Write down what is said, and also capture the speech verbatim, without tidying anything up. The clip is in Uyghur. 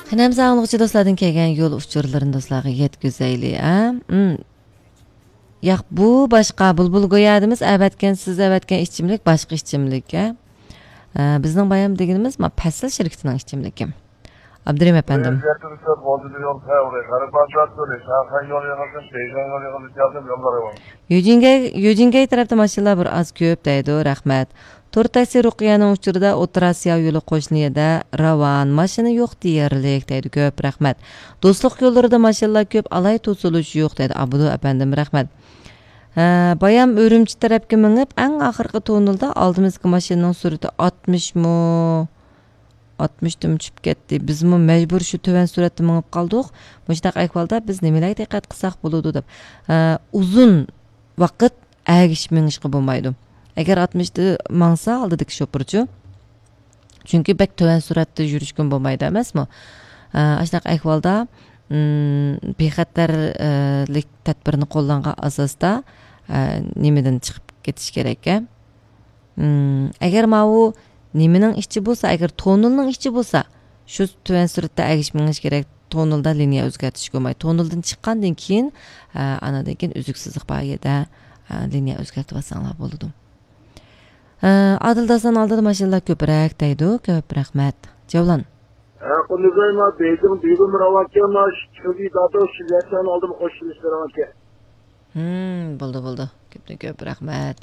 قېنى ئەمسە ئاڭلىغۇچى دوستلاردىن كەلگەن يول ئۇچۇرلىرىنى دوستلارغا يەتكۈزەيلى، ھە؟ مم. ياق، بۇ باشقا، بۇلبۇل گويا دېمىز، ئەۋەتكەن، سىز ئەۋەتكەن ئىچىملىك باشقا ئىچىملىك، ھە؟ ئە، بىزنىڭ بايام دېگىنىمىز، ما، پەسىل شىركىتىنىڭ ئىچىملىكى. ئابدۇرېھىم ئەپەندىم. يۈجىنگەي، يۈجىنگەي تەرەپتە ماشىنىلار بىر ئاز كۆپ دەيدۇ، رەھمەت. تور تاكسى رۇقىيەنىڭ ئۇچۇرىدا ئوتتۇرا ئاسىيا يولى قوشنا يەردە راۋان، ماشىنا يوق دېيەرلىك دەيدۇ، كۆپ رەھمەت. دوستلۇق يوللىرىدا ماشىنىلار كۆپ، ئالاي توسۇلۇش يوق دەيدۇ، ئابدۇ ئەپەندىم، رەھمەت. ھە، بايام ئۈرۈمچى تەرەپكە مېڭىپ، ئەڭ ئاخىرقى توننېلدا ئالدىمىزدىكى ماشىنىنىڭ سۈرئىتى ئاتمىشمۇ؟ ئاتمىشتىن چۈشۈپ كەتتى. بىزمۇ مەجبۇر شۇ تۆۋەن سۈرئەتتە مېڭىپ قالدۇق. مۇشۇنداق ئەھۋالدا بىز نېمىلەرگە دىققەت قىلساق بولىدۇ دەپ. ئە، ئۇزۇن ۋاقىت ئەگىشىپ مېڭىشقا بولمايدۇ. ئەگەر ئاتمىشتا ماڭسا ئالدىدىكى شوپۇرچۇ، چۈنكى بەك تۆۋەن سۈرئەتتە يۈرۈشكىمۇ بولمايدۇ ئەمەسمۇ؟ ئە، ئاشۇنداق ئەھۋالدا، مم، بىخەتەرلىك تەدبىرىنى قوللانغان ئاساستا، ئە، نېمىدىن چىقىپ كېتىش كېرەك، ئە؟ مم، ئەگەر ماۋۇ نېمىنىڭ ئىچى بولسا، ئەگەر تونېلنىڭ ئىچى بولسا، شۇ تۆۋەن سۈرئەتتە ئەگىشىپ مېڭىش كېرەك. تونېلدا لىنىيە ئۆزگەرتىش بولمايدۇ. تونېلدىن چىققاندىن كېيىن، ئە، ئانىدىن كېيىن ئۈزۈكسىزلىك بار يەردە، ئە، لىنىيە ئۆزگەرتىۋالساڭلار بولىدۇ. ئە، ئادىل داستان ئالدىدا ماشىنىلار كۆپرەك دەيدۇ. كۆپ رەھمەت. جەۋلان. ھە، قۇندۇزاي، ما بېيجىڭ دېگۈم راۋانكەن، ما شۇ چۈنكى داتو شىليەتسان ئالدىم قوشۇلۇشلىرىڭكەن. ھىم، بولدى، بولدى. كۆپتىن كۆپ رەھمەت.